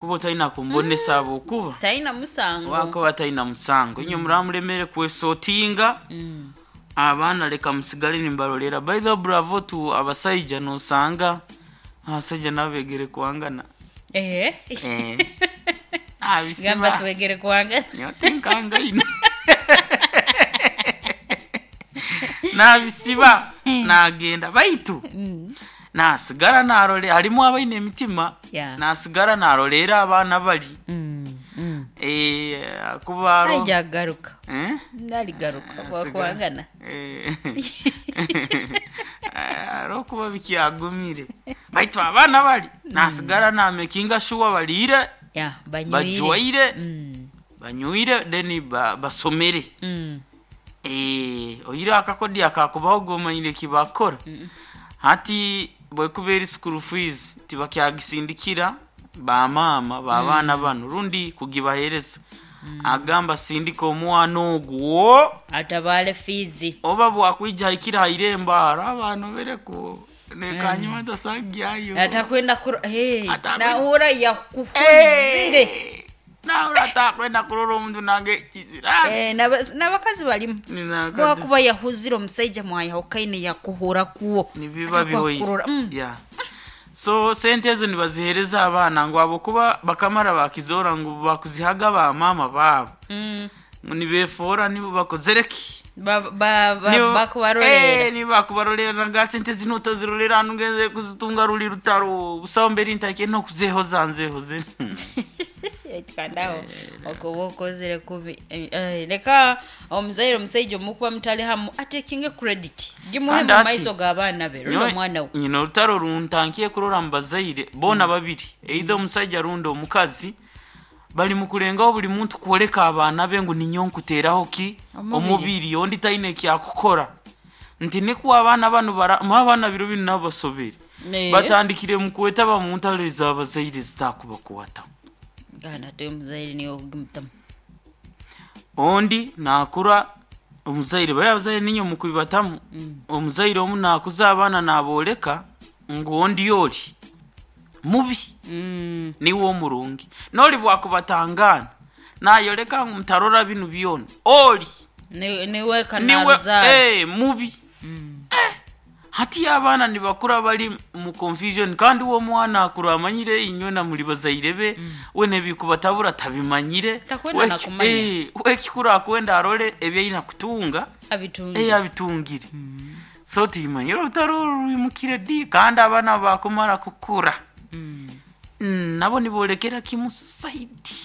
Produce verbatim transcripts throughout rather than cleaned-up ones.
Kuba otalina kumbonesa habwokuba Talina musango. Wakuba talina musango, inywe muramulemere kwesotinga abaana, leka musigale nimbarolera. By the way, bravo to abasaija. Nosanga abasaija nabo begere kwangana. Eh. Eh. Gamba. Abisiba. Twegere kwanga. Nyotinkangaine nabisiba nagenda, baitu nasigara narole harimu abaine emitima. Yeah. Nasigara narolera abaana bali. Mm, mm. Eh, kuba aro- Aija garuka. Eh? Naligaruka. Asigara- Kwangana. Eh. Arokuba bikyagumire, baitu abaana bali nasigara namekinga shuwa baliire, Ya, banywire. bajwaire, Mm. banywire, then ba- basomere. Mm. Eh, oire akakodi akakubaho gomanyire kibakora hati bwekuba eri school fees tibakyagisindikira bamaama babaana bano rundi kugibahereza, agamba sindika omwana ogwo Atabale fizi. oba bwakwija haikira hairembo haro abaana bereko nekanyuma tasagyayo. Atakwenda kuro hey, Atakwenda- nahura yakukuzire. Eh, nawe atakwenda kurora omuntu nange kizirani. Eh, n'aba- n'abakazi balimu. Bwakuba yahuzire omusaija mwayahukaine yakuhura kuwo. Nibiba Atakuwa bihoire. kurora. Mm. Yeah. So sente ezo nibazihereza abaana ngu abokuba bakamara bakizora ngu bakuzihaga bamama baabo. Mm. Ngu nibefoora nibo bakozereki. Ba- ba- ba- Nibo- bakubarolera. Eh, nibo bakubarolera nga sente zino otazirolera hanu ngenze kuzitunga ruli rutaro busaho mbere ntake nokuzehoza nzehoze. Kandaho okuba okozere kubi. Eh, eh, leka omuzaire omusaija omukuba mutali hamu atekinge credit gimuhe Kandi mu ati- maiso g'abaana be rundi Nyowe- omwana we. Nyina orutaro runtankiye kurora mu bazaire boona babiri, either omusajja rundi omukazi, bali mu kulengaho buli muntu kwoleka abaana be ngu ninyo nkuteraho ki. Omubiri. Omubiri ondi taine ekyakukora nti nikuwa abaana bano bara- mu abaana biro binu nabo basobere. Eh. Batandikire mu kwetaba mu ntalo ez'abazaire zitakubakwata. Gana te omuzaire niwe ogumutamu. Ondi nakura omuzaire baye abazaire ninyo mukubibatamu, omuzaire omu nakuza abaana naboleka ngu ondi oli mubi, Mm. niwe omurungi, noli bwakubatangana nayoleka ngu mutarora binu byona oli Ni- niwe niwe kanaruzaara. eh, mubi. Eh, hati abaana nibakura bali mu confusion, kandi uwo mwana akura amanyire inywe na muri bazaire be, we nebikubatabura tabimanyire. Takwenda We- nakumanya. eh, we kikura akwenda arole ebyaina kutunga. Abitunge. Eh, abitungire. So timanyire orutaro oru rwimukire di, kandi abaana bakumara kukura, Mm. Mm, nabo nibolekera kimu saidi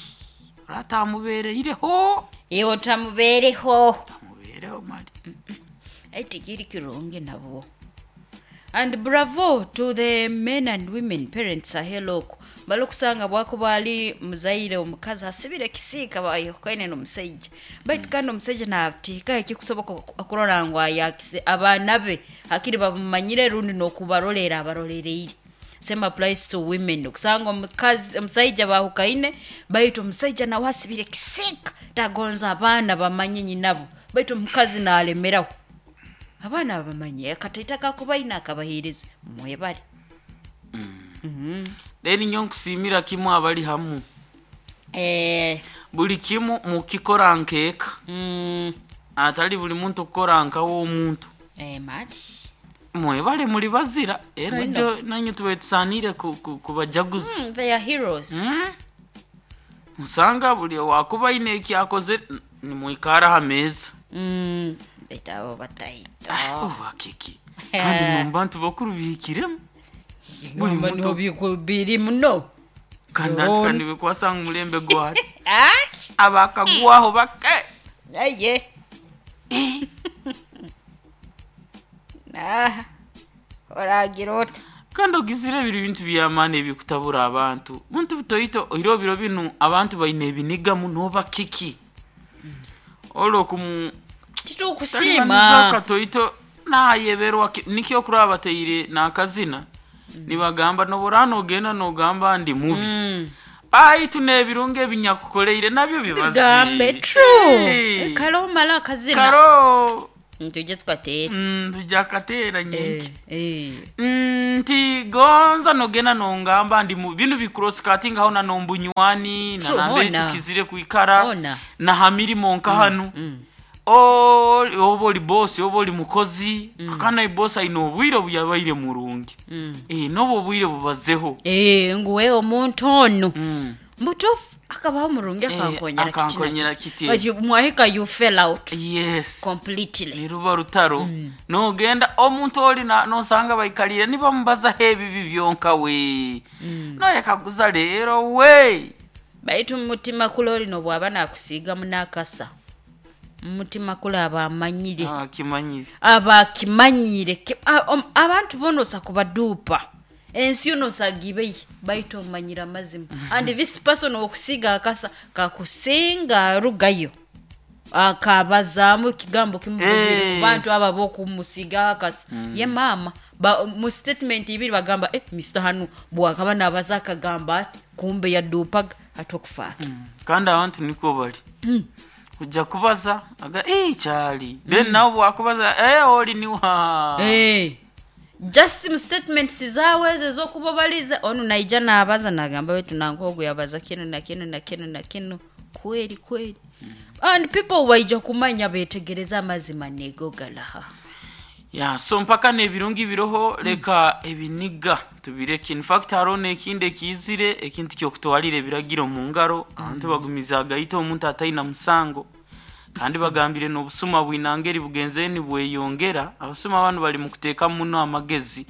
oratamubereireho. Iwe otamubeereho. Tamubeereho mali. Eti kiri kirungi nabwo. And bravo to the men and women parents aheloko bali okusanga bwakuba ali muzaire omukazi asibire ekisiika bayokaine n'omusaija, baitu kandi omusaija nateeka ekikusoboka okurora ngu ayakise abaana be hakiri bamumanyire rundi n'okubarolera abarolereire. Same applies to women, okusanga omukazi omusaija bahukaine, baitu omusaija nawe asibire ekisiika tagonza abaana bamanye nyinabo, baitu omukazi nalemeraho abaana bamanye akataita kakubaina akabaheereza mwebale. Then nyo nkusiimira kimu abali hamu. Eh, Buli kimu mukikora nkeeka, mm, atali buli muntu kukora nkawe omuntu. Eh, mati. Mwebale muli bazira era. Muno. Ijo nanyu tubaye tusanire ku- ku- kubajaguza. Mm, they are heroes. Mm. Musanga buli wakuba aine ekyakoze nimwikara ha meeza. Mm, baitu abo bataita. Oba kiki, kandi mu bantu bakuru bihikiremu buli Ngamba muntu- niho biku- biri muno. Kandi ati kandi bikwasanga omulembe gwari Ah, abakagwaho bake. aye. Ah, oragira ota. Kandi ogizire biri bintu byamaani ebikutabura abantu muntu butoito oire biro binu abantu baine ebiniga muno oba kiki olwokumu Titukusiima. katoito nayeberwa ki- nikyo kuraba bateire nakazina nibagamba nobora nogenda nogamba ndi mubi, Mm. baitu n'ebirungo ebinyakukoleire nabyo bibazi. Gambe true. Eh, Kale omala akazina. Karo. Tujye tukateera. Mm, tujja kukateera nyenki. Eh, Mm, nti gonza nogenda nongamba ndi mu binu bicross-cutting aho na nombunywani na True, nambere hona. tukizire kwikara Hona. na ha mirimo nka hanu O- oba oli bosi oba oli mukozi, akana bosi aine obwire obuyabaire murungi. Mm. Eh, n'obwo obwire bubazeho. Eh, nguwe omuntu onu Mm. mutuufu akabaho murungi Eh, akankonyera. Akankonyera kiti. But you- mwahika you fell out Yes. completely. Niruba rutaro, nogenda omuntu oli na- nosanga baikalire nibamubazaho ebibi byonka we noyekaguza leero we. Baitu mumutima kula olino bw'aba nakusiigamu n'akasa mumutima kula aba amanyire. Ah, kimanyire. Aba akimanyire. Ki- a- om- abantu bonosa kubaduupa ensi yonosagibeyi baitu omanyire amazima, and this person okusiiga akasa kakusinga arugayo akabazaamu ekigambo kimu Eh. ku bantu abo abokumusiigaho akasa ye maama. Ba- mu statement ibiri bagamba, eh, Mister hanu bwakaba nabaza akagamba ati kumbe yaduupaga ati okufaaki. Kandi abantu niko bali kujja kubaza aga "Eh, kyali," then nawe bwakubaza, "Eh, oli niwa." Eh, just mu statements zaawe ezo ez'okuba obalize onu naija nabaza nagamba wetu nankogu yabaza kinu na kinu na kinu na kinu kweri kweri, and people baija kumanya betegereza amazima nego galaha. Ya, so mpaka n'ebirungi biroho, leka ebiniga tubireke. In fact hariho n'ekindi ekizire, ekintu kyokutwalira ebiragiro mu ngaro. Abantu bagumiza agayita omuntu ataina musango, kandi bagambire n'obusuma bwinangeri bugenze nibweyongera. Abasuma banu bali mu kuteeka muno amagezi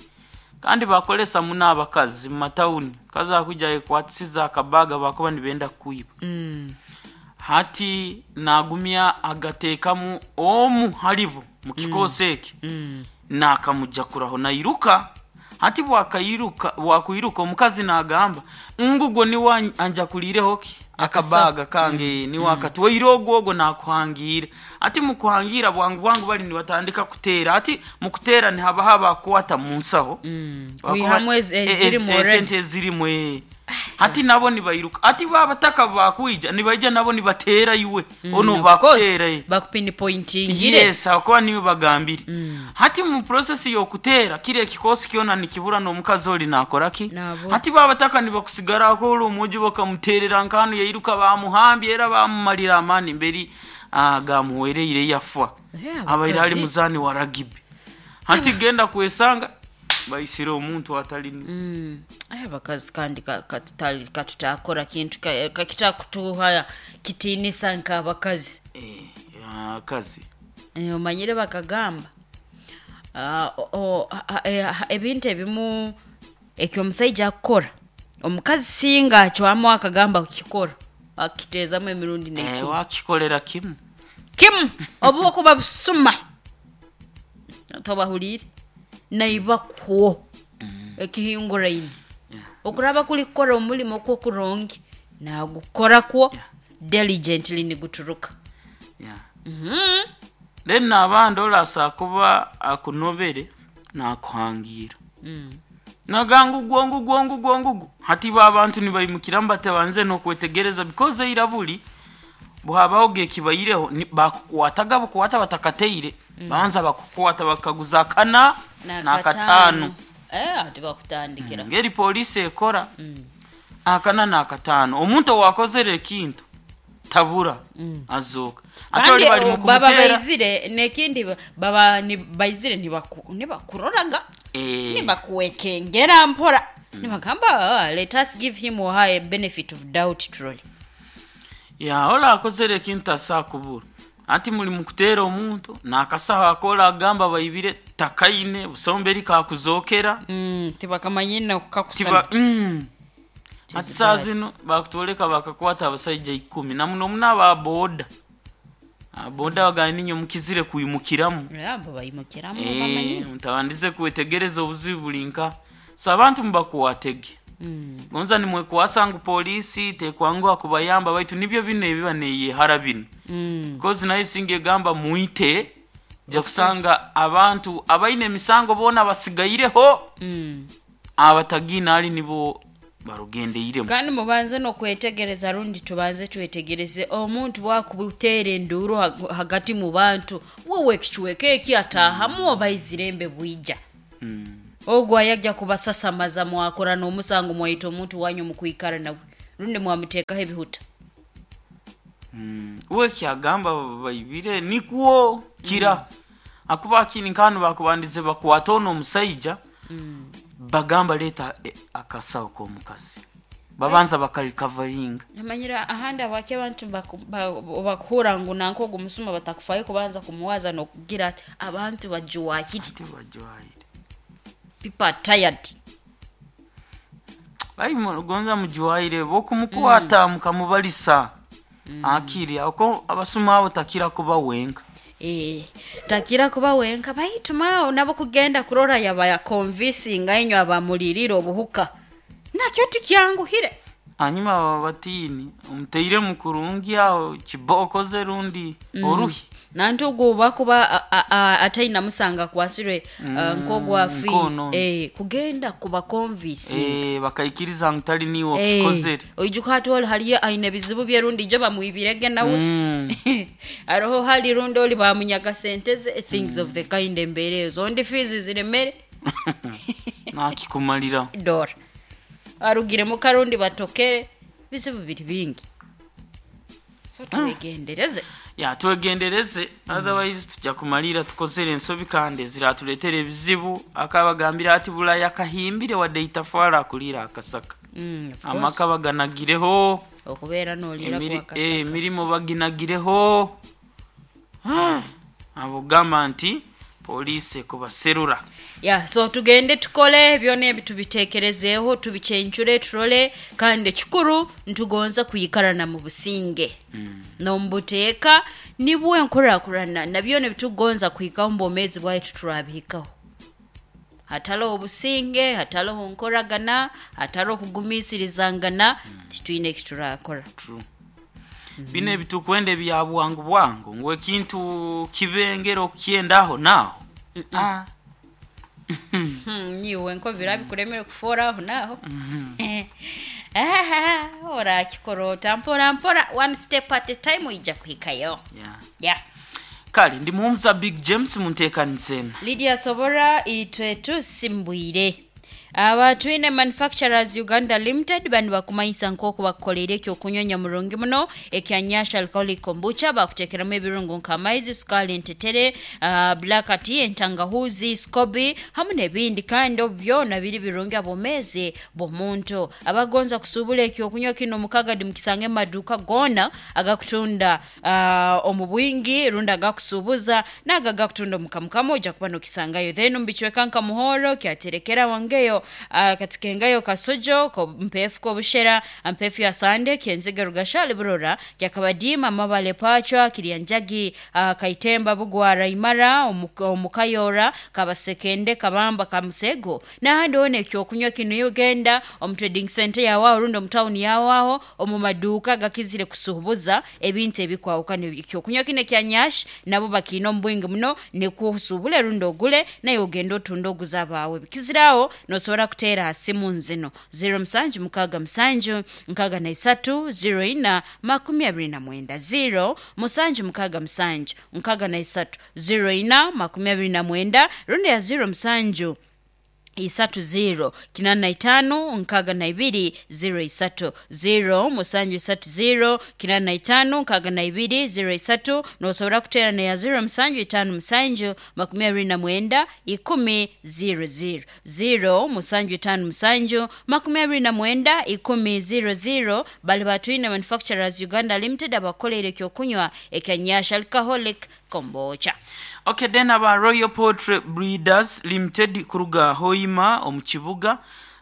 kandi bakolesa muno abakazi mu matawuni. Kazi akujja yekwatisiza akabaga bakuba nibenda kwiba, hati nagumya agateekamu omu halibo mu kikosi eki nakamujakuraho nairuka. Hati bwakairuka, bwakwiruka omukazi nagamba ngu gwo niwe anjakulireho ki akabaga kange, niwe akatwaire ogwo ogwo nakuhangira. Ati mukuhangira bwangu bwangu bali nibatandika kuteera. Ati mukuteera nihabaho abakwata mu nsaho. Bakuba- Kwihamu ez- e- ezirimu ez- already. Esente ezirimu, eh. Hati nabo nibairuka, ati babataka bakwija nibaija nabo nibateera iwe ono bakuteera, eh. Bakupinpointingire. Yes, akuba niwe bagambire. Hati mu process y'okuteera kiri ekikosi kyona nikibura n'omukazi oli nakoraki. Nabo. Hati babataka nibakusigarako oli omwojo bakamuteerera nkanu yairuka bamuhambye era bamumalira amaani mberi, ah, gamuwereire yafa. Eh, abaire ali abakazi. muzaani wa ragibi, hati genda kwesanga baisire omuntu atali. Mm. Aye abakazi kandi ka- katutali- katutakora kintu ka- kakitakutuha kitiinisa nk'abakazi. Eh, akazi. Eh, omanyire bakagamba, ah, o- o- a- eh, a- ebintu ebimu ekyo omusaija akukora omukazi singa acwamu akagamba kukikora akiteezamu emirundi Eh, neikumi. wakikolera kimu. Kimu oba okuba busuma tobahuriire naibakwo ekihinguraine okuraba kuri kukora omurimo kwokurungi nagukorakwo diligently niguturuka. Yeah. Mhm. Then n'abandi olasa kuba akunobere nakuhangira Mm. naganga ugwo ngugwo ngugwo ngugwo. Hati ba abantu nibaimukiramu batabanze n'okwetegereza because eira buli bwabaho gekibaireho ni- bakukwataga bukwata batakateire, banza bakukwata bakaguza akana n'akataano. Eh, ati bakutandikira. Ngeri polisi ekora, Mm. akana n'akataano omuntu owakozere ekintu tabura azooka ate Kandi oli bali mu baba kumuteera. baizire nekindi ba- baba ni- baizire nibaku- nibakuroraga, Eh. nibakuwekengera mpora nibagamba, "Ah, let us give him or her a benefit of doubt truly." Ya, ola akozere ekintu asakubura. Ati muli mukuteera omuntu nakasaho akola agamba baibire takaine busomberi kakuzokera. Mm, tibakamanyine kukakusana. Tiba mm. Ati saa zino bakutoleka bakakwata abasaija ikumi na muno muno aba boda aboda bagamba ninyo mukizire kuimukiramu. Abo bayimukiramu Eh, bamanyine. mutabandize kwetegereza obuzibu buli nka. So abantu mubakuwatege. Mm. Gonza nimwekwasa ngu polisi tekwanguha kubayamba, baitu nibyo bino ebiba neyehara bino. Mm. Kozi nayo singa egamba muite ja kusanga abantu abaine emisango boona basigaireho. Mm. Abatagina ali nibo Barugendeiremu. Kandi mubanze nokwetegereza, rundi tubanze twetegereze omuntu bwakubuteera enduuru hag- hagati mu bantu, wowe ekichweka eki ataahamu oba aizirembe bwija. Mm. Ogwo ayajja kubasasamaza, mwakora n'omusango, mwayita omuntu wanyu mukwikara nawe, rundi mwamuteekaho ebihuta. Mm. We kyagamba baibire nikwo kira akuba akini nkanu bakubandize bakwata ono omusaija, bagamba leeta eh, akasawo k'omukazi, babanza bakarikavaringa. Amanyira ahandi abaki abantu baku- ba- bakuhura ngu nanka ogu musuma batakufayo kubanza kumuwaza nokugira ati abantu bajuwahire. Tebajwayire. People are tired. Ai, gonza mujuwaire bokumukwata mukamubalisa akiri ako abasuma abo takira kuba wenka. Eh, takira kuba wenka, baituma nabo kugenda kurora yaba yakonvisinga inywe abamulirire obuhuka, nakyo tikyanguhire. Hanyuma baba batiini omuteire mukurungi aho kibokoze rundi oruhi. Nanti ogwo bakuba a- a- a- ataina musanga akwasirwe, mm, nk'ogwafiire. Nkono. Eh, kugenda kubakonvisinga. Eh, bakaikiriza ngu tali niwe Eh, okikozere. Oijuka hati oli haliyo aine ebizibu bye, rundi ijo bamwibirege nawe. Mm. Aroho hali rundi oli bamunyaga sente ze, things of the kind, embeera ezo ondi fiizi ziremere. Nakikumalira. Dora arugiremu karundi batokere, bizibu biri bingi, so twegendereze. Ya, twegendereze, otherwise tujja kumalira tukozere ensobi kandi eziratuleetera ebizibu. Akabagambira ati bulaya kahimbire wadde itafwala akulira akasaka. Mm, of course. Amaka baganagireho. Okubeera nolira Emiri- kwakasaka. eh, emirimu baginagireho. Ah, abo gamba nti poliisi ekubaserura. Ya, so tugende tukole byona ebi, tubitekerezeeho, tubikyencure, turole, kandi ekikuru ntugonza kwikarana mu businge n'omubuteeka, nibwo enkurakurana na byona ebitugonza kuhikaho mu bwomeezi bwaitu turabihikaho. Hataloho obusinge, hataloho nkoragana, hataloho kugumiisirizangana, titwine eki turakora. True. Bino ebitukwenda ebya bwangu bwangu ngu ekintu kibengera okukyendaho naaho. Ah. Hmm, niwe nko birabikuremere kufoora aho naaho. Ah, orakikora ota mpora mpora, one step at a time, oija kuhikayo. Yeah. Yeah. Kale ndi muhumuza Big James munteekanisena. Lydia Sobora, itwe tusimbwire. Aba Twine Manufacturers Uganda Limited bani bakumanyisa nk'oku bakukoleire ekyokunyonya murungi muno ekya Nyasha Alcoholic Kombucha. Bakuteekeramu ebirungo nk'amaizi, sukaali, entetere, uh, black tea, entangahuzi, scoby hamu n'ebindi, kandi obu byona biri birungi abomezi bw'omuntu. Abagonza kusuubula ekyokunywa kino mukagadi mukisange mu maduuka goona agakutunda uh, omu bwingi, rundi agakusuubuza n'ago agakutunda omukamukama, ojja kuba nokisangayo. Then mubicweka nka Muhoro, kyaterekera, wangeyo, uh, katikengayo, Kasojo, ko- mpefu kobushera, mpefu ya Sande, Kyenziga, Rugashali, Burora, Kyakabadima, Mabale, Pachwa, Kiryanjagi, uh, Kaitemba, Bugwara, Imara, Omu- omukayora, Kabasekende, Kabamba, Kamusego n'ahandi hona. Ekyokunywa kino ugenda omu trading center yawaho rundi omu tawuni yawaho, omu maduuka gakizire kusuubuza ebintu ebikwawukana, ekyokunywa kino ekya Nyash nabo bakiina omu bwingi muno, nikusuubule rundi ogule naye ogenda otunda oguza abaawe. Bikiziraho nosobora kuteera ha simu nzino zero musanju mukaaga musanju nkaaga na isatu zero ina makumi abiri na mwenda, zero musanju mukaaga musanju nkaaga na isatu zero ina makumi abiri na mwenda, rundi ya zero musanju isatu zero kinana na itano nkaaga na ibiri zero isatu, zero musanju isatu zero kinana na itano nkaaga na ibiri zero isatu. Nosobora kuteera neya zero musanju itano musanju makumi abiri na mwenda ikumi zero zero, zero musanju itano musanju makumi abiri na mwenda ikumi zero zero. Bali Batwine Manufacturers Uganda Limited abakoleire ekyokunywa ekya Nyasha Alcoholic Kombucha. Okay, then aba Royal Poultry Breeders Limited kuruga Hoima omu kibuga,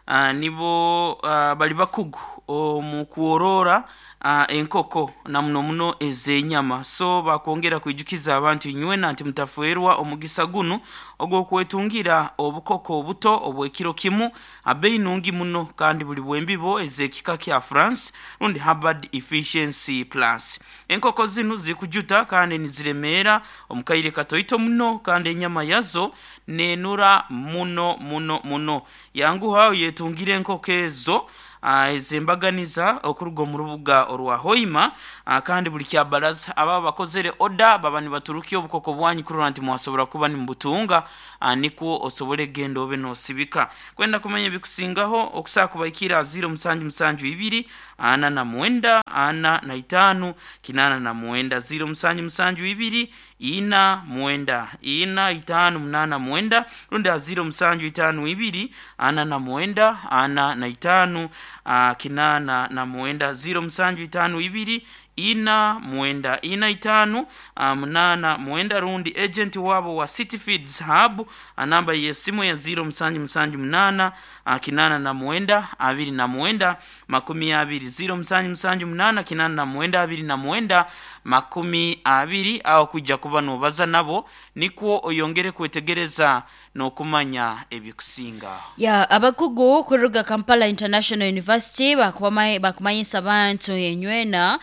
uh, nibo uh, bali bakugu omu kuorora uh, enkoko na muno muno ez'enyama. So bakwongera kwijukiza abantu inywena nti mutafuerwa omugisa gunu ogw'okwetungira obukoko obuto obw'ekiro kimu abeyi nungi muno, kandi buli bwembibo ez'ekika kya France rundi Harvard Efficiency Plus. Enkoko zinu zikujuta kandi niziremeera omukaire katoito muno, kandi enyama yazo nenura muno muno muno. Yanguha oyetungire enkoko ezo. uh, ezembaganiza okuruga omu rubuga orwa Hoima. uh, kandi buli kyabaraza aba bakozere oda baba nibaturukia obukoko bwanyu kurora nti mwasobora kuba nimubutunga, uh, nikwo osobole genda obe nosibika. Kwenda kumanya ebikusingaho okusaa kubaikira ziro musanju musanju ibiri ana na mwenda ana na itanu kinana na mwenda, ziro musanju musanju ibiri ina mwenda ina itanu munana mwenda, rundi ziro musanju itanu ibiri ana na mwenda ana na itanu uh, kinana na mwenda, ziro musanju itanu ibiri ina mwenda ina itanu uh, munana mwenda, rundi agent wabo wa City Feeds Hub namba yesimu ya ziro musanju musanju munana uh, kinana na mwenda abiri na mwenda makumi abiri, ziro musanju musanju munana kinana na mwenda abiri na mwenda makumi abiri. Aho kujja kuba nobaza nabo nikwo oyongere kwetegereza nokumanya ebikusinga. Ya abakugu kuruga Kampala International University bakumanyisa abantu enywena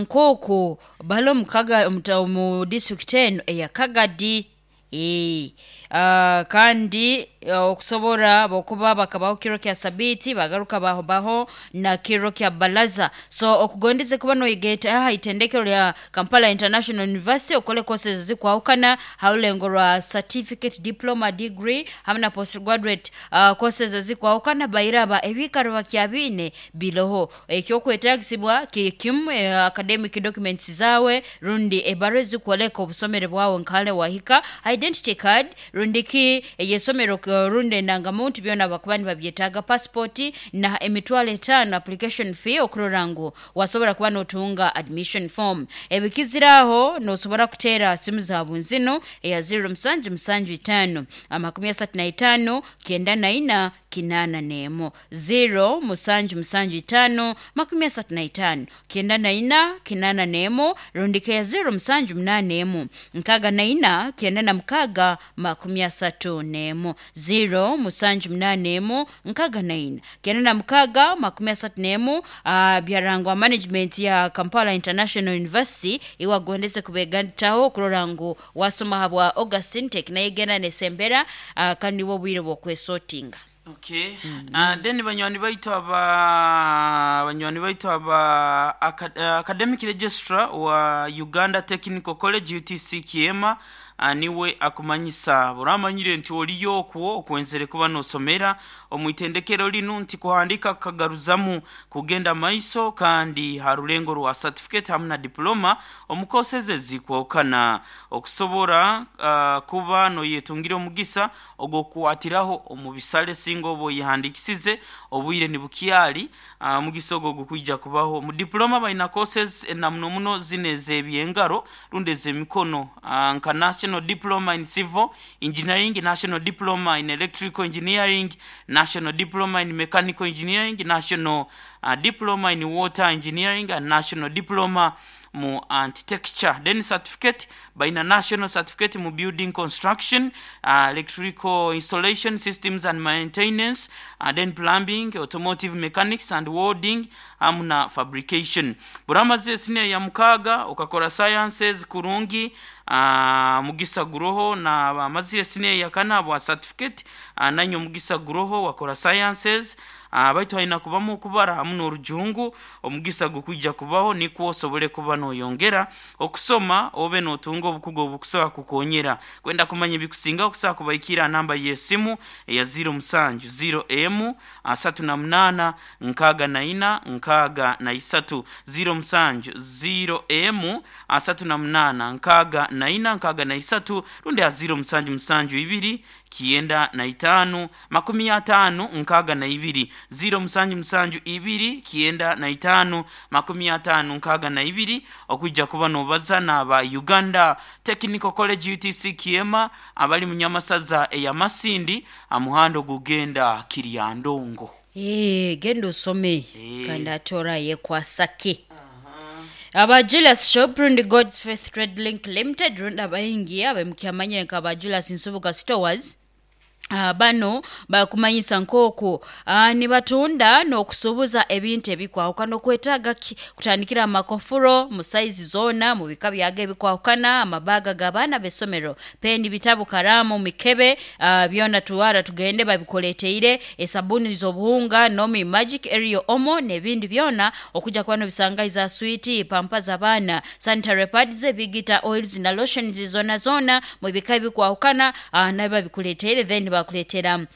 nkoko balo mukaga mu district eno eya Kagadi. E, uh, kandi okusobora bokuba bakabaho kiro kya sabiti bagaruka baho baho na kiro kya balaza. So okugondeze kuba noigeta aha itendekero lya Kampala International University okole courses zikwahukana haulengo rwa certificate, diploma, degree hamwe na postgraduate uh, courses zikwahukana bairaba ebikaro bakyabine biloho ekyokwetagisibwa kikimu eh, academic documents zawe rundi ebaro zikwoleka obusomere bwawe nkale wahika identity card rundiki eyesomero runde endangamuntu byona bakuba nibabyetaaga passport na emitwalo etaano application fee okurora ngu wasobora kuba notunga admission form. Ebikiziraho nosobora kuteera simu zaabwe nzino eya ziro musanju musanju itaano amakumi asatu na itaano kenda na ina kinana nemo, ziro musanju musanju itaano makumi asatu na itaano kenda na ina kinana nemo, rundike ya ziro musanju munane emu nkaga na ina kenda na mukaga makumi asatu nemo, ziro musanju munane emu nkaga na ina kenda na mukaga makumi asatu nemo. Uh, byarangwa management ya Kampala International University iwagondeze kubegataho kurora ngu wasoma habwa August intake naye genda nesembera uh, kandi bo bwire bwokwesotinga. Okay. Mm -hmm. Uh, then banywani baitu aba banywani baitu aba academic registrar wa Uganda Technical College U T C Kiema niwe akumanyisa buramanyire nti oliyo okwo okwenzere kuba nosomera omwitendekero linu nti kuhandika kagaruzamu kugenda maiso kandi harulengo rwa certificate hamwe na diploma omukoseze zikwokana okusobora uh, kuba noyetungira omugisa ogokuatiraho omubisale singo obo yihandikisize obwire nibukyali uh, mugisa ogo gukwijja kubaho mu diploma baina courses na muno muno zineze ebyengaro runde zemikono uh, nka National Diploma in Civil Engineering, National Diploma in Electrical Engineering, National Diploma in Mechanical Engineering, National uh, Diploma in Water Engineering, and National Diploma mu Architecture. Then certificate by national certificate mu building construction, uh, electrical installation systems and maintenance, uh, then plumbing, automotive mechanics and welding, amuna fabrication. Buramaze sine ya mukaga ukakora sciences kurungi uh, mugisa guroho na amazire sine ya kana bwa certificate uh, nanyo mugisa guroho wakora sciences uh, baitu haina kubamu kubara hamuno orujungu omugisa gukwijja kubaho nikwo osobole kuba noyongera okusoma obe notunga obukugo obukusobola kukonyera. Kwenda kumanya ebikusinga okusobola kubaikira namba y'esimu eya ziro musanju ziro emu asatu na munana nkaga na ina nkaga na isatu, ziro musanju ziro emu asatu na munana nkaga na ina nkaga na isatu, rundi ya ziro musanju musanju ibiri kienda na itanu makumi atano nkaga na ibiri, ziro musanju musanju ibiri kienda na itanu makumi atano nkaga na ibiri okujja kuba nobaza n'aba Uganda Technical College U T C Kiema abali mu Nyamasaza eya Masindi amuhando gugenda Kiryandongo. Eh, genda osome kandi atora yekwasake. Aba Julius Shop rundi God's Faith Trade Link Limited rundi abayingi abemukyamanyire nka aba Julius Nsubuga Stores Uh, bano bakumanyisa nk'oku uh, nibatunda n'okusuubuza ebintu ebikwahukana. Okwetaaga ki? Kutandikira amakofuro mu saizi zoona, mu bika byago ebikwahukana, amabaga g'abaana b'essomero, peni, bitabu, karaamu, mikebe, uh, byona tuwara tugende babikuleteire, esabuni z'obuhunga, Nomi, Magic, Ariel, Omo n'ebindi byona okujja kuba nobisanga, za switi, pampa z'abaana, sanitary pads, ebigita, oils na lotions zona zona mu bika ebikwahukana, uh, nabyo babikuleteire. Then bakuleetera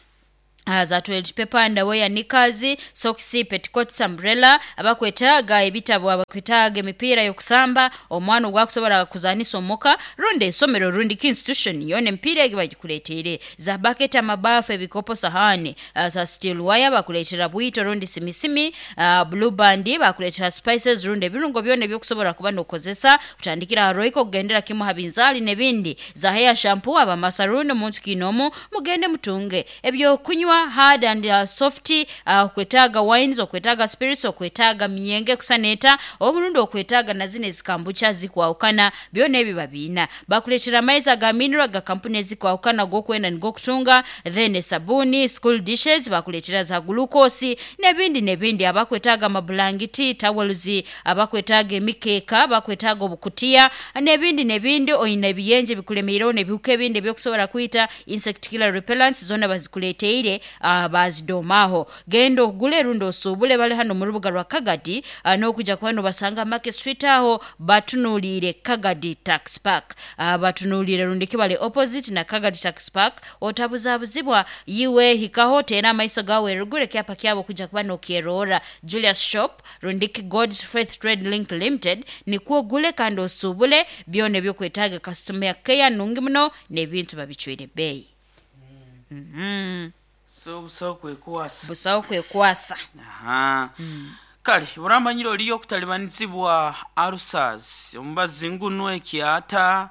Uh, za toilet paper, underwear, knickers, socks, petticoats, umbrella. Abakwetaaga ebitabo, abakwetaaga emipiira y'okusamba, omwana ogwakusobola kuzanisa omuka rundi essomero rundi ki institution yona, emipiira egi bagikuleteire, za bucket, amabaafu, ebikopo, sahani, uh, za steel wire, bakuleetera bwito rundi simisimi, uh, Blue Band, bakuleetera spices rundi ebirungo byona ebyokusobola kuba nokozesa, kutandikira ha Royco kugendera kimu ha binzaali n'ebindi, za hair shampoo, abamasaruuni omuntu kiinomu mugende mutunge ebyokunywa hard and uh, soft, uh, okwetaaga wines, okwetaaga spirits, okwetaaga myenge kusaneeta obulundi, okwetaaga na zino ezikambucha zikwawukana, byona ebyo babiina. Bakuleetera amaizi aga mineral ga kampuni ezikwawukana g'okwenda nigokutunga, then esabuni, school dishes, bakuleetera za glucose n'ebindi n'ebindi. Abakwetaaga amabulangiti, towels, abakwetaaga emikeeka, abakwetaaga obukutiya n'ebindi n'ebindi. Oyina ebiyenje bikulemeireho n'ebihuka ebindi ebyokusobola kwita, insect killer repellents zona bazikuleteire, uh, bazidomaho. Genda ogule rundi osuubule. Bali hano mu rubuga rwa Kagadi, uh, n'okujja kuba nobasanga Market Street aho batunuulire Kagadi Tax Park, uh, batunuulire rundi kibale opposite na Kagadi Tax Park. Otabuzabuzibwa yiwe, hikaho teera amaiso gawe erugure kyapa kyabo kujja kuba nokyerora, Julius Shop rundiki God's Faith Trade Link Limited, nikwo ogule kandi osuubule byona ebyokwetaaga. Customer care nungi muno n'ebintu babicwire ebbeeyi. mm -hmm. So busawo kwekwasa. Busawo kwekwasa. Aha. Kale buramanyire oliyo okutalibanizibwa ulcers, omubazi ngunu, ekyata,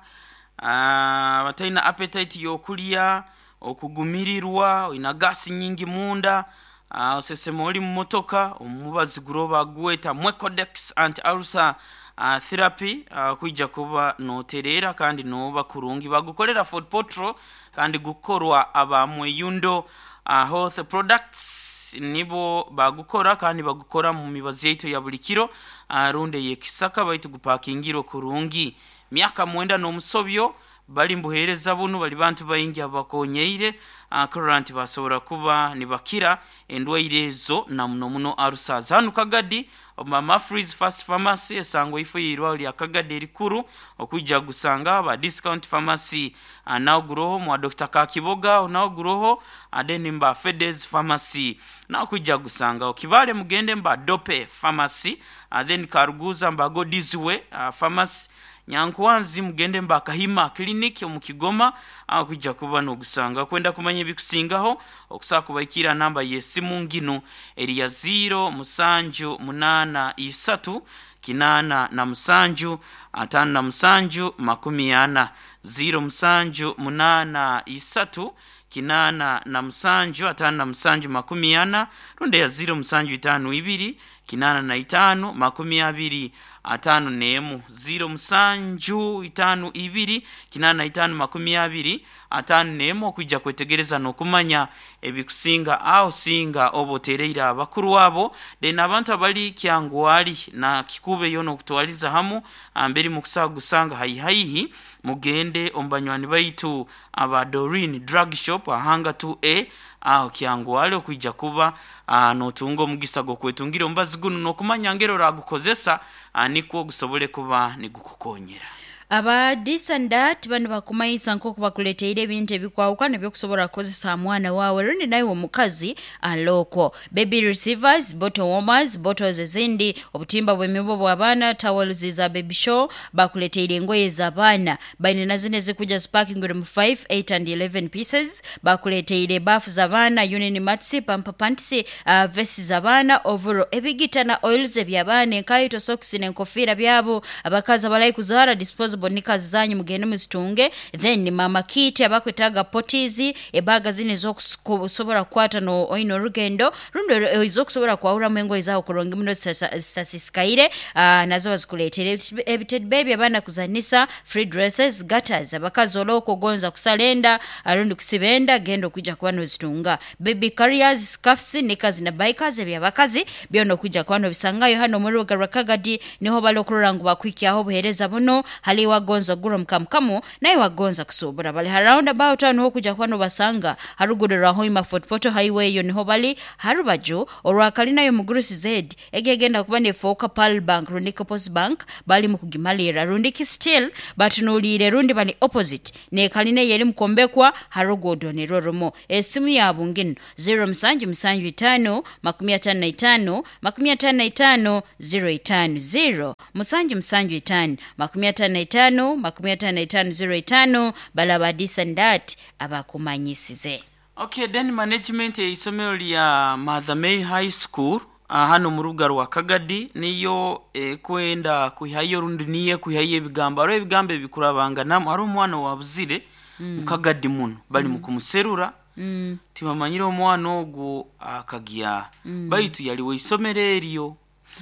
ah, batalina appetite y'okulya, okugumirirwa, olina gasi nyingi munda, ah, osesema oli mu motoka, omubazi guroba gweta Mwecodex anti ulcer uh, therapy, uh, kwijja kuba notereera kandi noba kurungi. Bagukolera Fort Portal kandi gukorwa aba Mweyundo uh, Health Products nibo bagukora, kandi bagukora mu mibazi yaitu ya buli kiro, uh, runde yekisaka baitu gupakingirwe kurungi. Myaka mwenda n'omusobyo bali mbuheereza bunu, bali bantu baingi abakonyeire uh, kurora nti basobora kuba nibakira endwaire ezo, na muno muno ulcers. Hanu Kagadi Mama Freeze Fast Pharmacy esangwa ifo yirwa lya Kagadi erikuru, okwijja gusanga ba Discount Pharmacy, uh, nawo guroho, mwa Doctor Kakiboga nawo guroho, then mba Fedes Pharmacy nawo kwijja gusanga. Okibale mugende mba Dope Pharmacy, uh, then Karuguza mba Godizwe uh, Pharmacy. Nyankwanzi mugende mba Kahima Clinic omu Kigoma, aho kwijja kuba nogusanga. Kwenda kumanya ebikusingaho, okusobola kubaikira namba y'esimu nginu eri ya ziro musanju munaana isatu kinaana na musanju ataano na musanju makumi ana, ziro musanju munaana isatu kinaana na musanju ataano na musanju makumi ana, rundi ya ziro musanju itaano ibiri kinaana na itaano makumi abiri ataano n'emu, ziro musanju itaano ibiri kinaana na itaano makumi abiri ataano n'emu, okwijja kwetegereza n'okumanya ebikusinga aho singa oba otereire abakuru abo. Then abantu abali Kyangwali na Kikube yoona okutwaliza hamu amberi mukusaga gusanga haihaihi, mugende omu banywani baitu aba Dorin Drug Shop ahanga two A aho Kyangwali, okwijja kuba uh, notunga omugisa gw'okwetungira omubazi guno n'okumanya ngeri oragukozesa, uh, nikwo gusobole kuba nigukukonyera. Aba This and That bano bakumanyisa nk'oku bakuleteire ebintu ebikwawukana ebyokusobola kukozesa mwana waawe rundi nawe omukazi alookwo: baby receivers, bottle warmers, bottles ezindi, obutimba bw'emibo bw'abaana, towels za baby show. Bakuleteire engoye z'abaana, baine na zino ezikuja sparking room five, eight and eleven pieces. Bakuleteire baafu z'abaana, union mats, pamper pants, uh, vesti z'abaana, overall, ebigita na oils eby'abaana, enkaito, socks n'enkofiira byabo. Abakazi abalayi kuzaara, disposable. Disposable knickers zanyu mugende muzitunge. Then mama kit abakwetaaga potizi, ebaga zino ezokusobola kukwata no oine orugendo rundi ezokusobola kwahuramu engoye zaawe kurungi muno zitasisikaire, uh, nazo bazikuleetere. Ebitedi baby abaana kuzanisa, free dresses, gutters, abakazi olooka ogonza kusala enda rundi kusiba enda, genda okwijja kuba nozitunga. Baby carriers, scarfs, knickers na bikers ebyabakazi byona okwijja kuba nobisangayo hano muri rubuga rwa Kagadi. Niho bali okurora ngu bakwikyaho obuheereza buno. Hali wagonza ogura mukamukamu naye wagonza kusuubura, bali ha roundabout aho niho okwijja kuba nobasanga haruguru rwa Hoima Fort Portal Highway, eyo niho bali harubaju orwakalinayo mugurusi Z egegenda kuba nefooka Pearl Bank rundi Post Bank, bali mu kugimalira rundi ki still batunuulire rundi bali opposite nekalina yeri mukombekwa harugudo nirwo rumu. Esimu yabu ngino zero musanju musanju itano makumi atano na itano makumi atano na itano zero itano, zero musanju musanju itano makumi atano na itano makumi atano na itano zero itano. Balaba disandat abakumanyisize. Okay, then management eisomero lya Mother Mary High School uh, hano mu rubuga rwa Kagadi niyo ekwenda kwihayo rundi niye kwihayo ebigambo. Hariho ebigambo ebikurabanganamu. Hariho omwana wabuzire mm. Mukagadi muno bali mm. mukumuserura mm. Tibamanyire omwana ogwo akagya mm. Baitu yali weisomero eryo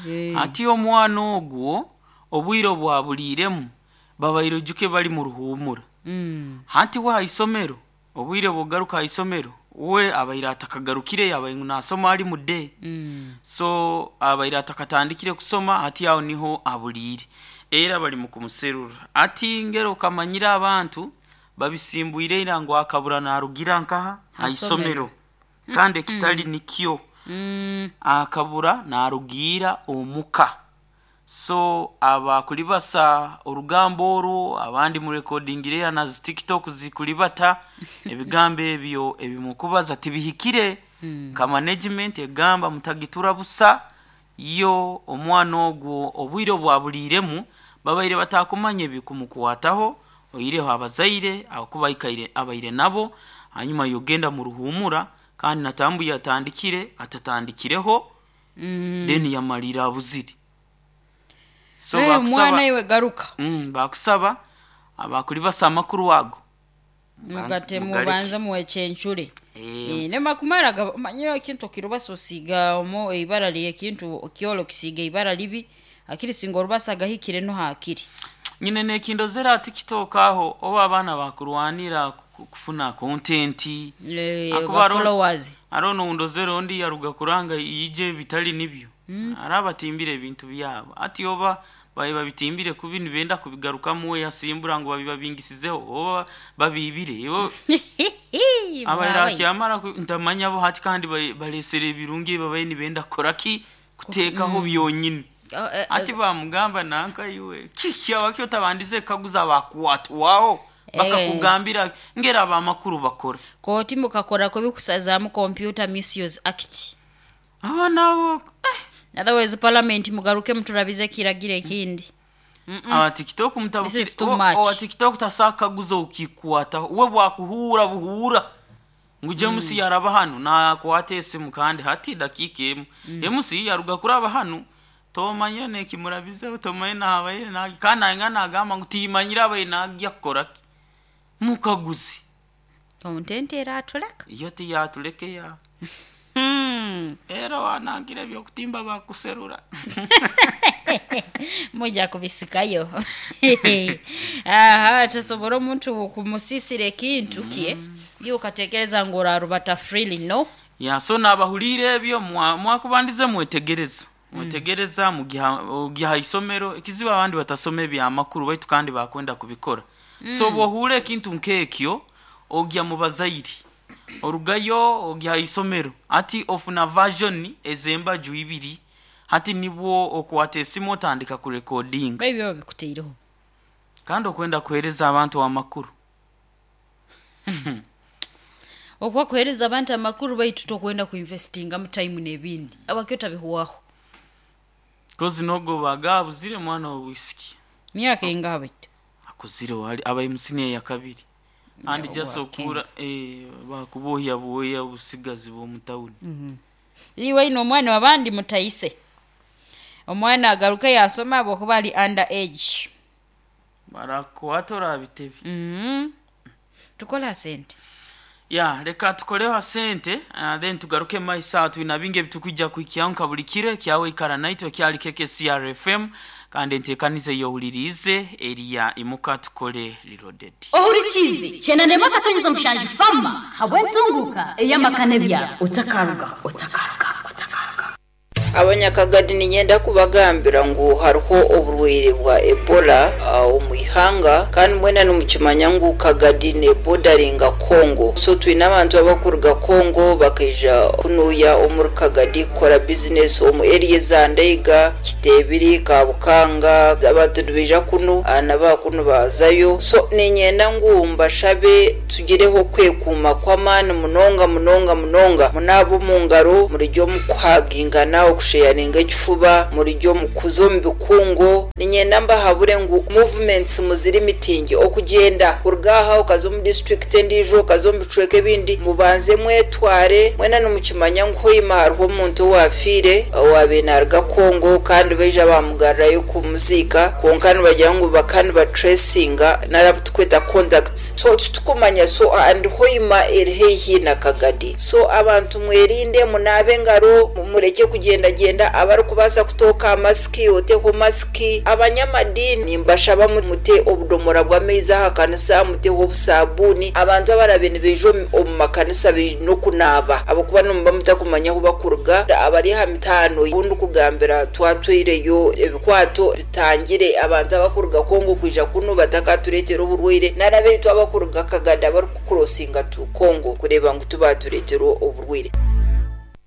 yeah. Ati omwana ogwo obwire bwabuliremu babaire ojuke bali mu ruhumura mm. Hati we haisomero obwire bugaruka haisomero we abaire atakagarukire, abaire ngu nasoma ali mude mm. So abaire atakatandikire kusoma, hati aho niho abuliire era bali mu kumuserura. Ati ngero kamanyire abantu babisimbwire ira ngu akabura narugira nkaha haisomero kandi ekitali nikyo mm. Akabura narugira omuka. So abakulibasa orugambo orwo abandi mu recordingire na zi TikTok zikulibata ebigambo ebyo ebimukubaza tibihikire mm. Ka management egamba mutagitura busa yo omwana ogwo obwire bwabuliremu babaire batakumanya ebikumukwataho oireho abazaire akubaikaire abaire nabo hanyuma yogenda mu ruhumura kandi natambuye atandikire atatandikireho mm. Then yamalira abuziri. So hey, mwana iwe garuka mm, bakusaba abakulibasa amakuru ago mugate mubanza muwechenchure e, nemakumara manyira ekintu kirubasa osiga omo ibara liye ekintu kiolo kisiga ibara libi akiri singa orubasa gahikire no hakiri nyine nekindozera TikTok aho oba abaana bakurwanira kufuna content e, followers arono undozera ondi yaruga kuranga yije bitali nibyo mm. Arabatimbire ebintu byabo ati oba baye babitimbire kubi nibenda kubigarukamu we yasimbura ngo babibabingisizeho oba babibire yo abayira kyamara ntamanya bo hati kandi balesere ebirungi babaye nibenda koraki kutekaho mm. Byonyine ati bamugamba nanka iwe kiki abakyo tabandize kaguza bakuwatwaho bakakugambira ngera abamakuru bakora koti mukakora ko bikusazamu Computer Misuse Act abana bo eh. Otherwise parliament mugaruke muturabize kiragire ekindi. Aba TikTok mutabukire owa TikTok tasakaguza ukikwata we bwakuhura buhura nguje mm. Musi yaraba hano na kwate esimu kandi hati dakika emu mm. Emusi yaruga kuraba hano tomanye nekimurabize tomanye nabaye na kana ngana agamba ngu timanyira abaye nagya kukora mukaguzi content era atuleka iyo tiyatuleke ya Mm. Era wanangira ebyokutimba bakuserura mujja kubisikayo. Aha, tasobora omuntu kumusisira ekintu kye mm. Yo katekereza ngu orarubata freely no ya so nabahulire ebyo mwakubandize mwetegereza mwetegereza mm. Mugiha isomero ekizibu abandi batasoma ebyamakuru baitu kandi bakwenda kubikora mm. So bwohure ekintu nkekyo ogya mu bazairi orugayo ogya isomero ati ofuna version ezemba juibiri hati nibwo okwata esimu otandika ku recording ebyo bikuteireho kandi okwenda kuhereza abantu amakuru okwa kuhereza abantu amakuru baitu tokwenda kuinvestinga mu time n'ebindi abakyo tabihuwaho kozi nogo bagabuzire mwana wa whisky myaka ingaha baitu akuzire wali abaye musiniya ya kabiri andi just okura eh bakubohya boya busigazi bo mutawuni mm -hmm. Iwe ino omwana wabandi mutayise omwana agaruke yasoma abo kuba ali under age Barakwata orabitebi. Mm. Tukola sente. Ya, reka tukoreho sente, uh, then tugaruke maiso. Twina bingi ebitukwijja kuhikyaho nka buli kiro ekyawe. Ikara naitwe, kyali keke C R F M, kandi enteekaniza eyowuliriize eriya Imuka Tukole Reloaded. Ohurikize chenanema akatonyeza mushanju fama habwentunguka eyamakane byabo otakaruga, otakaruga, otakaruga. Abanyakagadi, ninyenda kubagambira ngu hariho oburwaire bwa Ebola uh, omu ihanga, kandi mwena nimukimanya ngu Kagadi nebodaringa Congo. So twine abantu abakuruga Congo bakaija kunuya omuri Kagadi kukora bizinesi omu area za Ndeiga, Kitebiri, Kabukanga. Abantu nibaija kunu, uh, nabakunu bazayo. So ninyenda ngu mbashabe tugireho kwekuuma kw'amaani munonga munonga munonga. Munaaba omu ngaro, murijya omu kuhagingana, okusheyaringa ekifuba, murijya omu kuza omu bikungo. Ninyenda mbahabure ngu movements muziri mitingi, okugyenda kuruga aha okaza omu district endiijo, okaza omu bicweka ebindi, mubanze mwetware. Mwena nimukimanya ngu Hoima hariho omuntu owafiire owabiire naruga Congo, kandi baija bamugarurayo kumuziika, kwonka nibagira ngu baka nibatracinga nari tukweta contacts, so titukumanya. So and Hoima eri haihi na Kagadi. So abantu mwerinde, munaabe engaro, mureke kugendagenda. Abarikubaasa kutooka masiki, oteho masiki. Abanyamadini mbashaba mute obudomora bw'amaizi aha kanisa, muteho obusabuuni. Abantu abarabe nibaija omu- omu makanisa baine okunaaba, ahabwokuba nimuba mutakumanya ahu bakuruga. Abari aha mitaano obundi kugambira twatwireyo ebikwato bitangire abantu abakuruga Kongo kwija kunu batakatureetera oburwaire, nari abaitu abakuruga Kagadi abarikukurosinga tu Kongo kureeba ngu tubatureetera oburwaire.